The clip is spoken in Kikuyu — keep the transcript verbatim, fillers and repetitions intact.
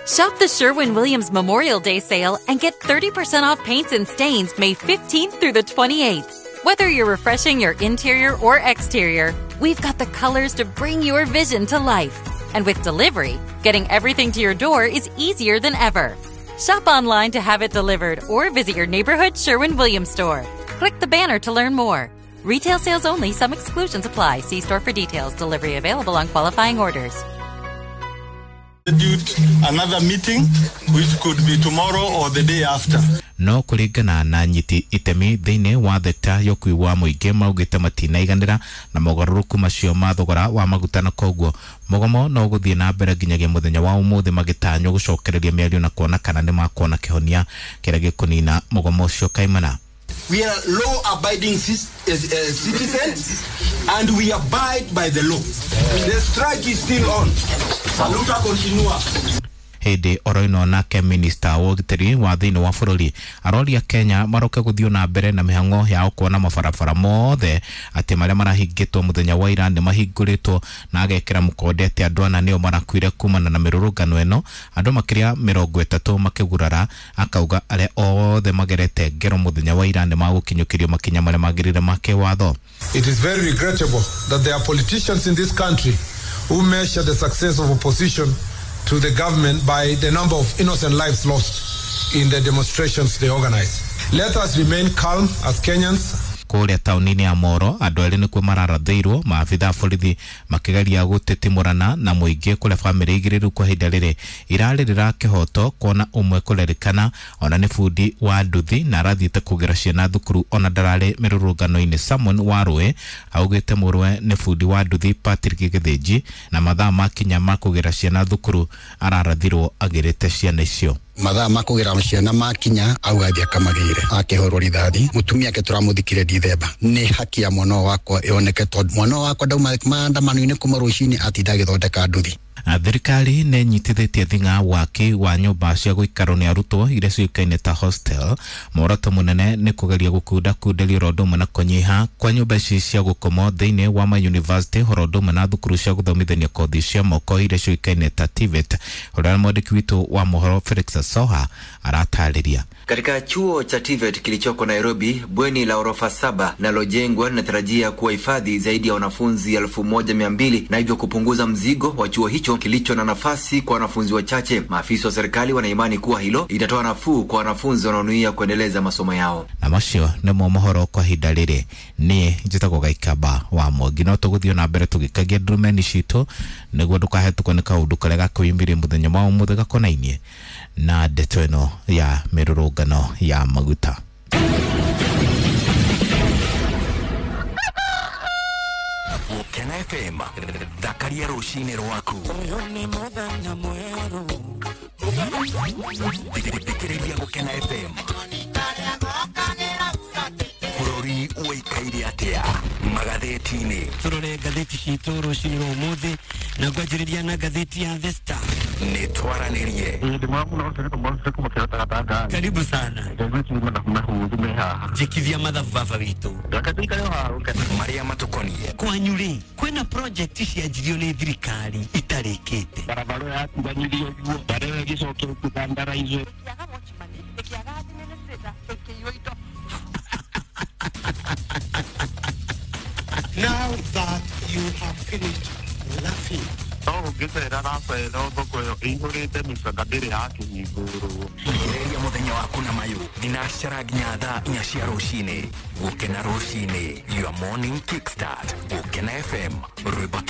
Shop the Sherwin-Williams Memorial Day sale and get thirty percent off paints and stains May fifteenth through the twenty-eighth. Whether you're refreshing your interior or exterior, we've got the colors to bring your vision to life. And with delivery, getting everything to your door is easier than ever. Shop online to have it delivered or visit your neighborhood Sherwin-Williams store. Click the banner to learn more. Retail sales only. Some exclusions apply. See store for details. Delivery available on qualifying orders. Another meeting which could be tomorrow or the day after. No kuringana na nyiti itemi thiini wa thekta ya ũkuui wa mũingĩ maugĩte matinaiganĩra na mogarũrũku macio ma thogora wa maguta na koguo mũgomo no ũgũthiĩ na mbere nginyagia mũthenya wa ũmũthĩ magĩtanywo gũcokereria mĩario na kuona kana nĩ makuona kĩhonia kĩrĩa gĩkũnina mũgomo ũcio kaimana. We are law-abiding citizens and we abide by the law. The strike is still on. Saluta continua. Hĩndĩ oro ĩno nake minista wa ũgitĩri wa thĩinĩ wa bũrũri aroria Kenya maroke gũthiĩ na mbere na mĩhang'o yao kuona mabarabara mothe atĩ marĩa marahingĩtwo mũthenya wa ira nĩ mahingũrĩtwo na agekĩra mũkonde atĩ andũ ana nĩo marakuire kumana na mĩrũrũngano ĩno andũ makĩria mĩrongo ĩtatũ makĩgurara akauga arĩa othe magerete ngero mũthenya wa ira nĩ magũkinyũkĩrio makinya marĩa magĩrĩire ma kĩwatho. It is very regrettable that there are politicians in this country who measure the success of opposition to the government by the number of innocent lives lost in the demonstrations they organize. Let us remain calm as Kenyans. Kũrĩa taũni-inĩ ya Moro andũ erĩ nĩkuo mararathĩirwo maabitha a borithi makĩgeria gũtitimũrana na mũingĩ kũrĩa bamĩrĩ igĩrĩ rĩu kwa ihinda rĩrĩ irarĩrĩra kĩhoto kuona ũmwe kũrerĩkana ona nĩ bundi wa nduthi na arathiĩte kũgĩra ciana thukuru ona ndararĩ mĩrũrũngano-inĩ. Simon Warũĩ augĩte mũrũwe nĩ bundi wa nduthi Patrick Gĩthĩnji na mathaa makinya ma kũgĩra ciana thukuru ararathirwo agĩrĩte ciana icio. Mathaa ma kũgĩra ciana makinya auga athiĩ akamagĩre akĩhũrwo rithathi mũtumia ake tũramũthikire Dithemba. Nĩ haki ya mwana wakwa ĩoneke tondũ mwana wakwa ndauma maandamano-inĩ kuma rũcinĩ atinda agĩthondeka nduthi. Thirikari nĩ ĩnyitithĩtie thing'a waki wa nyũmba cia gũikarwo nĩ arutwo iria ciũĩkaine ta hostel. Muoroto mũnene nĩ kũgeria gũkundakunderia oro ũndũ ũmwe na kũnyiha kwa nyũmba ici cia gũkomwo thĩinĩ wa ma university oro ũndũ ũmwe na thukuru cia gũthomithania kothi cia moko iria ciũĩkaine ta T V E T. Ũrĩa mwandĩki witũ wa mohoro Felix Soha aratarĩria. Katika chuo cha T V E T kilichoko Nairobi, bweni la orofa saba linalojengwa linatarajia kuwahifadhi zaidi ya wanafunzi elfu moja mia mbili na hivyo kupunguza mzigo wa chuo hicho kilicho na nafasi kwa wanafunzi wachache. Maafisa wa serikali wanaimani kuwa hilo itatoa nafuu kwa wanafunzi wanaonuia kuendeleza masomo yao. Na macio nĩmo mohoro kwa ihinda rĩrĩ. Niĩ njĩtagwo Gaikaba wa Mwangi no tũgũthiĩ na mbere tũgĩkagia ndurumeni citũ nĩguo ndũkahetũkwo nĩ kaũndũ karĩa gakwĩyumĩria mũthenya wa ũmũthĩ gakonainie na ndeto ĩno ya mĩrũrũngano ya maguta. Gukena F M thakaria rũcinĩ rwaku. Thikĩrĩria Gukena F M. Bũrũri ũikaire atĩa magathĩti-inĩ? Tũrore ngathĩti citũ rũcinĩ rwa ũmũthĩ na ngwanjĩrĩria na ngathĩti ya The Star. Nĩ twaranĩrie. Karibu sana. Jikithia mathabu baba witũ. Marĩa matukoniĩ. Kwanyu rĩ, kwĩna project cianjirio nĩ thirikari itarĩkĩte. Barabara yatiganĩrio guo, barabara ĩgĩcokio kũthandaraizwo. Now that you have finished laughing. No ũngĩcera racera thoko ĩyo ĩihũrĩte mĩcanga ndĩrĩ yakĩhingũrwo. Ambĩrĩria mũthenya waku na mayũ thinacara nginya thaa inya cia rũcinĩ. Gũkena rũcinĩ, your morning kickstart. Gũkena F M, rwĩmbo.